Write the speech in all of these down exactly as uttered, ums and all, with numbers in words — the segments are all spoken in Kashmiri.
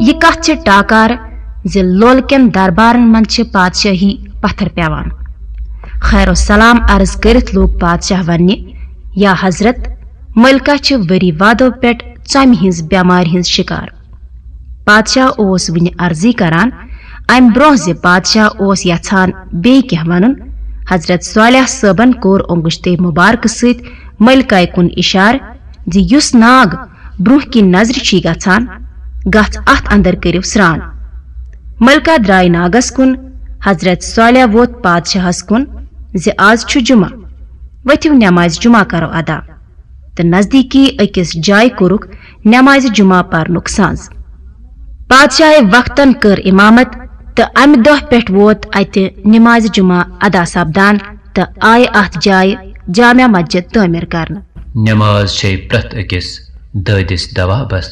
یہِ کتھ چھِ ٹاکار زِ لول کٮ۪ن دربارن منٛز چھِ پادشاہی پتھر پیوان۔ خیر و سلام عرض کٔرِتھ لوگ پادشاہ وننہِ، یا حضرت، ملکہ چھِ ؤری وادو پٮ۪ٹھ ژۄمہِ ہٕنٛز بٮ۪مارِ ہٕنٛز شکار۔ پادشاہ اوس وُنہِ عرضی کران، امہِ برونٛہہ زِ پادشاہ اوس یژھان بیٚیہِ کینٛہہ ونُن، حضرت صالح صٲبن کوٚر اونگشتِ مبارکہٕ سۭتۍ ملکہ کُن اشارٕ زِ یُس ناگ برونٛہہ کِنۍ نظرِ چھُے گژھان، گژھ اتھ اندر کٔرِو سران۔ ملکہ درایہِ ناگس کُن۔ حضرت صالح ووت پادشاہس کُن زِ از چھُ جمعہ، ؤتھِو نمازِ جمعہ کرو ادا۔ تہٕ نزدیٖکی أکِس جایہِ کوٚرُکھ نمازِ جمعہ پرنُک سنز۔ پادشاہہِ وقتن کٔر امامت تہٕ امہِ دۄہ پٮ۪ٹھ ووت اتہِ نمازِ جمعہ ادا سپدان تہٕ آیہِ اتھ جایہِ جامع مسجد تعمیٖر کرنہٕ۔ نماز چھے پرٛٮ۪تھ أکِس دٲدِس دوا بس۔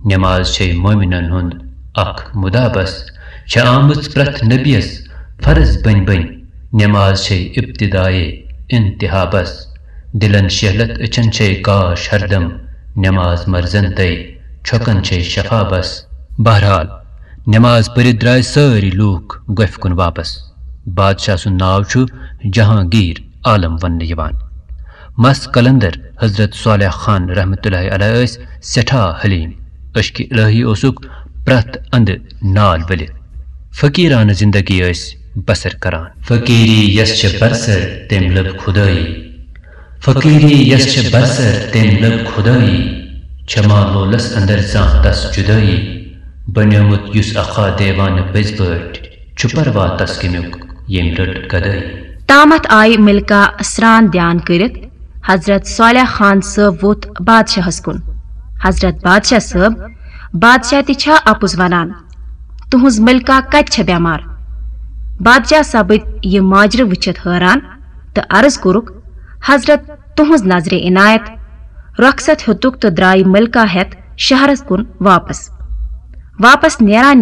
نماز چھے مومنن ہُنٛد اکھ مُدا بس۔ چھےٚ آمٕژ پرٛٮ۪تھ نبیَس فرض بٔنۍ بٔنۍ۔ نماز چھے ابتدائے انتہا بس۔ دلن شہلت أچھن چھے کاش ہردم۔ نماز مرزن تَے چھۄکن چھے شفا بس۔ بہرحال، نماز پٔرِتھ درٛاے سٲری لوٗکھ گۄپھِ کُن واپس۔ بادشاہ سُنٛد ناو چھُ جہانگیر عالم وننہٕ یِوان۔ مس قلندر حضرت صالح خان رحمتہ اللہ علیہ ٲسۍ سٮ۪ٹھاہ حلیٖم۔ عشقِ الہی اوسُکھ پرٛٮ۪تھ اندٕ نال ؤلِتھ۔ فقیرانہٕ زندگی ٲسۍ بسر کران۔ فقیری یس چھِ برسر تٔمۍ لٔب خدٲیی۔ فقیری یس چھِ برسر تٔمۍ لٔب خدٲیی۔ چھما لولس اندر زانٛہہ تس جدٲیی؟ بنیومُت یُس اکھا دیوانہٕ پٔزۍ پٲٹھۍ، چھُ پروا تس کمیُک ییٚمۍ رٔٹ گدٲیی؟ تامتھ آیہِ ملکہ سران دیان کٔرِتھ۔ حضرت صالح خان صٲب ووٚتھ بادشاہس کُن۔ حضرت بادشاہ صٲب، بادشاہ تہِ چھا اپُز ونان؟ تُہنٛز ملکہ کتہِ چھےٚ بٮ۪مار؟ بادشاہ سپٕدۍ یہِ ماجرٕ وٕچھِتھ حٲران تہٕ عرض کوٚرُکھ، حضرت، تُہنٛز نظرِ عنایت۔ رۄخصت ہیوٚتُکھ تہٕ درٛایہِ ملکہ ہٮ۪تھ شہرس کُن واپس۔ واپس نیران